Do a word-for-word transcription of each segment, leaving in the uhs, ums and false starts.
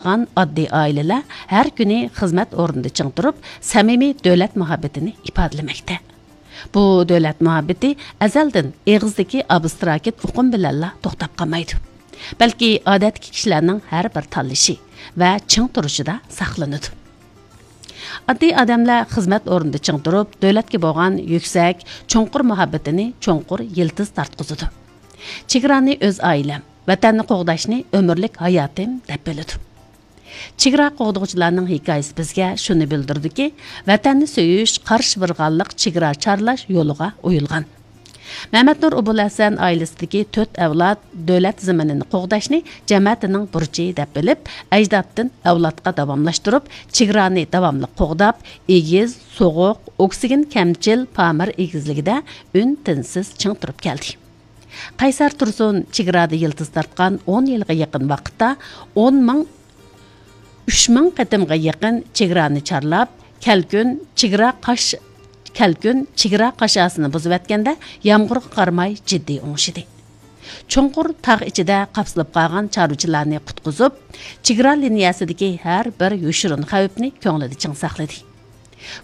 بولغان ئاددىي ئائىلىلەر ھەر كۈنى خىزمەت ئورنىدا چىڭ تۇرۇپ، سەمىمىي دۆلەت مۇھەببىتىنى ئىپادىلىمەكتە. بۇ دۆلەت مۇھەببىتى ئەزەلدىن ئېغىزدىكى ئابستراكت ئۇقۇم بىلەنلا توختاپ قالمايدۇ، بەلكى ئادەتتىكى كىشىلەرنىڭ ھەر بىر تاللىشى ۋە چىڭ تۇرۇشىدا ساقلىنىدۇ. ئاددىي ئادەملەر خىزمەت ئورنىدا چىڭ تۇرۇپ، دۆلەتكە بولغان يۈكسەك، چوڭقۇر مۇھەببىتىنى چوڭقۇر يىلتىز تارتقۇزىدۇ. چېگرانى ئۆز ئائىلەم، ۋەتەننى قوغداشنى ئۆمۈرلۈك ھاياتىم دەپ بىلىدۇ. چېگرا قوغدىغۇچىلارنىڭ ھېكايىسى بىزگە شۇنى بىلدۈرىدۇكى، ۋەتەننى سۆيۈش، قارشى بىرغانلىق چېگرا چارلاش يولىغا ئويۇلغان. مەمەتنۇر ئوبۇلھەسەن ئائىلىسىدىكى تۆت ئەۋلاد دۆلەت زېمىنىنى قوغداشنى جەمەتىنىڭ بۇرچى دەپ بىلىپ، ئەجدادتىن ئەۋلادقا داۋاملاشتۇرۇپ، چېگرانى داۋاملىق قوغداپ، ئېگىز، سوغۇق، ئوكسىگېن كەمچىل پامىر ئېگىزلىكىدە ئۈن-تىنسىز چىڭ تۇرۇپ كەلدى. قەيسەر تۇرسۇن چېگرادا يىلتىز تارتقان ئون يىلغا يېقىن ۋاقىتتا ئون مىڭ، ئۈچ مىڭ قېتىمغا يېقىن چېگرانى چارلاپ، كەلكۈن چېگرا قاش-، كەلكۈن چېگرا قاشاسىنى بۇزۇۋەتكەندە، يامغۇرغا قارىماي جىددىي ئوڭشىدى. چوڭقۇر تاغ ئىچىدە قاپسىلىپ قالغان چارۋىچىلارنى قۇتقۇزۇپ، چېگرا لىنىيەسىدىكى ھەر بىر يوشۇرۇن خەۋپنى كۆڭلىدە چىڭ ساقلىدى.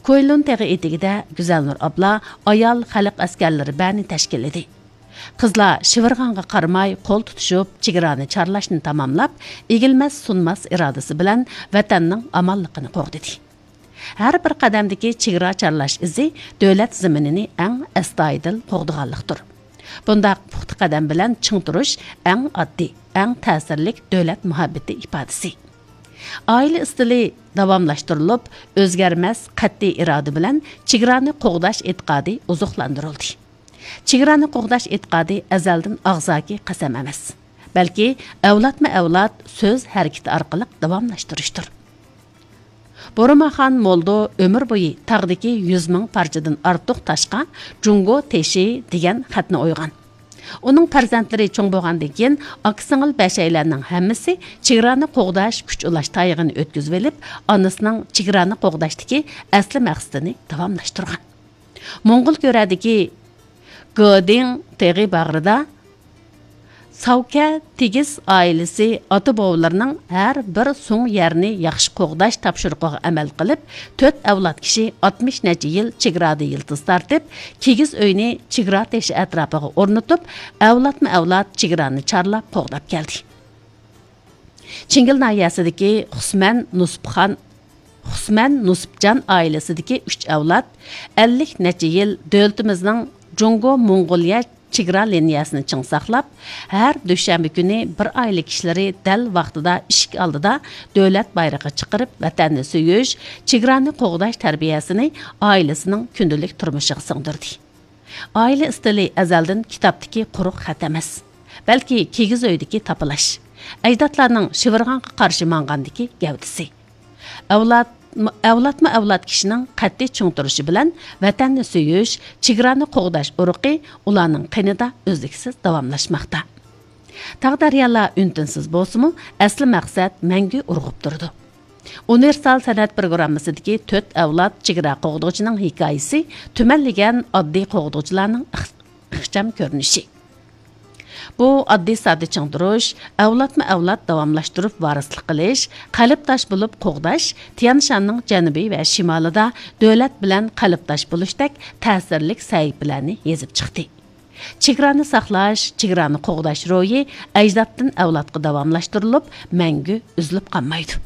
كۇيلۇن تېغى ئېتىكىدە گۈزەلنۇر ئابلا ئايال خەلق ئەسكەرلىرى بەرنى تەشكىللىدى. قىزلار شىۋىرغانغا قارىماي قول تۇتۇشۇپ، چېگرانى چارلاشنى تاماملاپ، ئېگىلمەس-سۇنماس ئىرادىسى بىلەن ۋەتەننىڭ ئامانلىقىنى قوغدىدى. ھەر بىر قەدەمدىكى چېگرا چارلاش ئىزى دۆلەت زېمىنىنى ئەڭ ئەستايىدىل قوغدىغانلىقتۇر. بۇنداق پۇختا قەدەم بىلەن چىڭ تۇرۇش ئەڭ ئاددىي، ئەڭ تەسىرلىك دۆلەت مۇھەببىتى ئىپادىسى. ئائىلە ئىستىلى داۋاملاشتۇرۇلۇپ، ئۆزگەرمەس قەتئىي ئىرادە بىلەن چېگرانى قوغداش ئېتىقادى ئوزۇقلاندۇرۇلدى. چېگرانى قوغداش ئېتىقادى ئەزەلدىن ئاغزاكى قەسەم ئەمەس، بەلكى ئەۋلادمۇ ئەۋلاد سۆز ھەرىكىتى ئارقىلىق داۋاملاشتۇرۇشتۇر. بۇرماخان مولدو ئۆمۈر بويى تاغدىكى يۈز مىڭ پارچىدىن ئارتۇق تاشقا جۇڭگو تېشى دېگەن خەتنى ئويغان. ئۇنىڭ پەرزەنتلىرى چوڭ بولغاندىن كېيىن، ئاكا-سىڭىل بەشەيلەننىڭ ھەممىسى چېگرانى قوغداش كۈچ ئۇلاش تايىقىنى ئۆتكۈزۈۋېلىپ، ئانىسىنىڭ چېگرانى قوغداشتىكى ئەسلى مەقسىتىنى داۋاملاشتۇرغان. موڭغۇل گۆرەدىكى گېدىڭ تېغى باغرىدا ساۋكە تېگىس ئائىلىسى ئاتا-بوۋىلىرىنىڭ ھەر بىر سۇڭ يەرنى ياخشى قوغداش تاپشۇرۇقىغا ئەمەل قىلىپ، تۆت ئەۋلاد كىشى ئاتمىش نەچچە يىل چېگرادا يىلتىز تارتىپ، كىگىز ئۆينى چېگرا تېشى ئەتراپىغا ئورنىتىپ، ئەۋلادمۇ ئەۋلاد چېگرانى چارلاپ قوغداپ كەلدى. چىڭگىل ناھىيەسىدىكى خۇسمەن نۇسۇپخان، خۇسمەن نۇسۇپجان ئائىلىسىدىكى ئۈچ ئەۋلاد ئەللىك نەچچە يىل دۆلىتىمىزنىڭ جۇڭگو موڭغۇلىيە چېگرا لىنىيەسىنى چىڭ ساقلاپ، ھەر دۈشەنبە كۈنى بىر ئائىلە كىشىلىرى دەل ۋاقتىدا ئىشىك ئالدىدا دۆلەت بايرىقى چىقىرىپ، ۋەتەننى سۆيۈش، چېگرانى قوغداش تەربىيەسىنى ئائىلىسىنىڭ كۈندىلىك تۇرمۇشىغا سىڭدۈردى. ئائىلە ئىستىلى ئەزەلدىن كىتابتىكى قۇرۇق خەت ئەمەس، بەلكى كىگىز ئۆيدىكى تاپىلاش، ئەجدادلارنىڭ شىۋىرغانغا قارشى ماڭغاندىكى گەۋدىسى. ئەۋلاد، ئەۋلادمۇ ئەۋلاد كىشىنىڭ قەتئىي چىڭ تۇرۇشى بىلەن ۋەتەننى سۆيۈش، چېگرانى قوغداش ئۇرۇقى ئۇلارنىڭ قېنىدا ئۈزلۈكسىز داۋاملاشماقتا. تاغ-دەريالار ئۈن-تىنسىز بولسىمۇ، ئەسلى مەقسەت مەڭگۈ ئۇرغۇپ تۇرىدۇ. ئۇنىۋېرسال سەنئەت پروگراممىسىدىكى تۆت ئەۋلاد چېگرا قوغدىغۇچىنىڭ ھېكايىسى تۈمەنلىگەن ئاددىي قوغدىغۇچىلارنىڭ ئىخ-، ئىخچام كۆرۈنۈشى. بۇ ئاددىي-ساددا چىڭ تۇرۇش، ئەۋلادمۇ ئەۋلاد داۋاملاشتۇرۇپ ۋارىسلىق قىلىش، قەلبداش بولۇپ قوغداش تيانشاننىڭ جەنۇبى ۋە شىمالىدا دۆلەت بىلەن قەلبداش بولۇشتەك تەسىرلىك سەھىپىلەرنى يېزىپ چىقتى. چېگرانى ساقلاش، چېگرانى قوغداش روھى ئەجدادتىن ئەۋلادقا داۋاملاشتۇرۇلۇپ، مەڭگۈ ئۈزۈلۈپ قالمايدۇ.